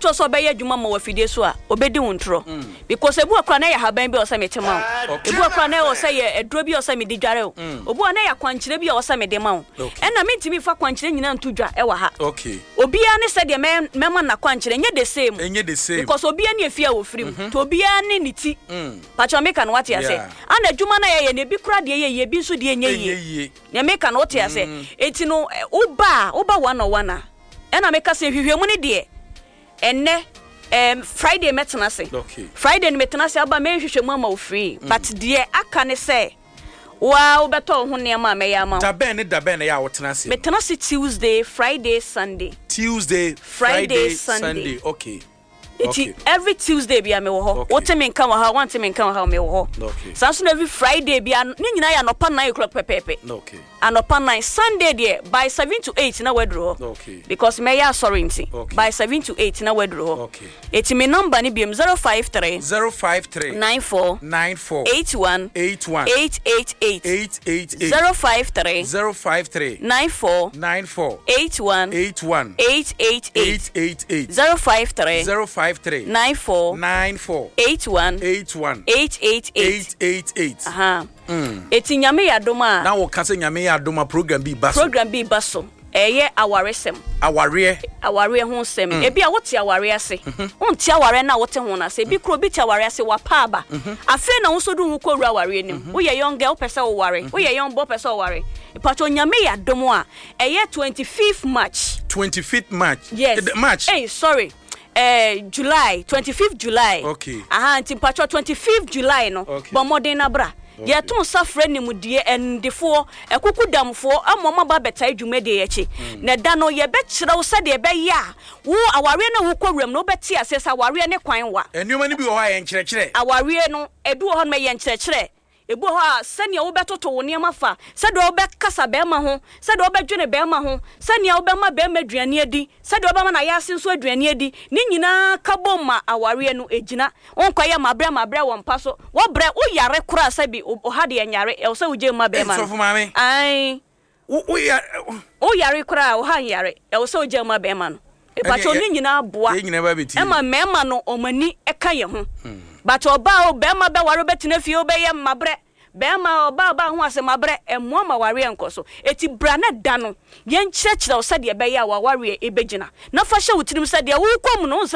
kyerɛ sɛ ɔbɛyɛ adwuma ma wɔ afidie so a, ɔbɛdi wo ntorɔ. Because ebi wɔ koraa na ɛyɛ ahaban bi a ɔsɛ mete ma wo. Ebi wɔ koraa na ɛwɔ sɛ yɛ aduro bi a ɔsɛ mede dware wo. Obi wɔ na ɛyɛ akwankyerɛ bi a ɔsɛ mede ma wo. Ɛna mentumi mfa kwankyerɛ nyinaa nto dwa ɛwɔ ha. Obiara ne sɛdeɛ mɛma no n'akwankyerɛ, ɛnyɛ the same. Because obiara ne efie a ɔfiri mu. Nti obiara ne ne ti. Pakyɛ meka no wate aseɛ? Ana adwuma no a yɛyɛ no ebi koraa deɛ yɛ yie, ebi nso deɛ nyɛ yie. Nea meka no wote aseɛ? Enti no woba a, woba one on one a, ɛna meka sɛ nhwehwɛmu no deɛ ɛnnɛ ɛɛm Friday mɛtena ase. Friday no metena ase aba mɛyɛ nhwehwɛmu ama wo free. But deɛ aka ne sɛ wo ara wobɛtɔ wo ho nneɛma a mɛyɛ ama wo. Da bɛn ne da bɛn na ɛyɛ a wotena ase? Metena ase Tuesday, Friday, Sunday. Tuesday, Friday, Sunday. Okay. Eti every Tuesday bia mewɔ hɔ. Wote me nka wɔ ha, wante me nka wɔ ha, mewɔ hɔ. Saa nso na every Friday bia ne nyinaa yɛ anɔpa 9 o'clock pɛpɛɛpɛ. Anɔpa 9. Sunday deɛ by 7 to 8 na waduru hɔ. Because mɛyɛ asɔre nti. By 7 to 8 na waduru hɔ. Eti me number ne biom 053 053 94 94 81 81 888 888 053 053 94 94 81 81 888 888 053 053 94 94 81 81 888. 888. Aha. Eti Nyame yɛ adom a. Na wɔka sɛ Nyame yɛ adom a program bi ba so. Program bi ba so. Ɛyɛ awaresɛm. Awareɛ. Awareɛ ho nsɛm. Ebi a wote awareɛ ase. Wonte awareɛ no a wote ho no ase. Ebi kura obi te awareɛ ase wapa aba. Afei na wo nso de wo ho kɔwura awareɛ no mu. Woyɛ young girl wopɛ sɛ woware. Woyɛ young boy wopɛ sɛ woware. Mpakyɛw Nyame yɛ adom a ɛyɛ 25th March. 25th March. Yes. March. Hey, sorry. July 25th July. Okay. Aha, nti mpakyɛw 25th July no. Okay. Bɔ mmɔden na bra. Okay. Yɛto nsa frɛ nimdeɛ animdefoɔ, akukudamfoɔ ama wɔn aba abɛtae dwumadie yi akyi. Na da no yɛbɛkyerɛ wo sɛdeɛ ɛbɛyɛ a wo awareɛ no a wokɔ wuram no wobɛte aseɛ sɛ awareɛ ne kwan wa. Nneɛma no bi wɔ hɔ a ɛyɛ nkyerɛkyerɛ. Awareɛ no, ebi wɔ hɔ nom ɛyɛ nkyerɛkyerɛ. Ebi wɔ hɔ a, sɛnea wobɛtoto wo nneɛma fa, sɛdeɛ wobɛkasa barima ho, sɛdeɛ wobɛdwene barima ho, sɛnea wobɛma barima aduane adi, sɛdeɛ wobɛma n'ayaase nso aduane adi, ne nyinaa ka bom ma awareɛ no gyina. Wonkɔyɛ mabrɛ mabrɛ wɔ mpa so. Wobrɛ, woyare koraa sɛbi, wo ha deɛ nyare, ɛwɔ sɛ wogyae mu ma barima no. Ei, sɔfo maame. Ae. Wo, wo ya, Wo yare koraa a, wo ha nyare, ɛwɔ sɛ wogyae mu ma barima no. Mepakyɛw, ne nyinaa boa Yɛn nyinaa ba bɛtie. ma mmarima no wɔn ani ka yɛn ho. But ɔbaa o, barima bɛware wobɛtena fie wobɛyɛ mabrɛ, barima ɔbaa ɔbaa ho asɛm mabrɛ, ɛmmoa ma awareɛ nkɔ so. Eti bra na da no yɛnkyerɛkyerɛ wo sɛdeɛ ɛbɛyɛ a w'awareɛ ɛbɛgyina. Na fa hyɛ wo tirim sɛ deɛ worekɔ mu no, wohu sɛ.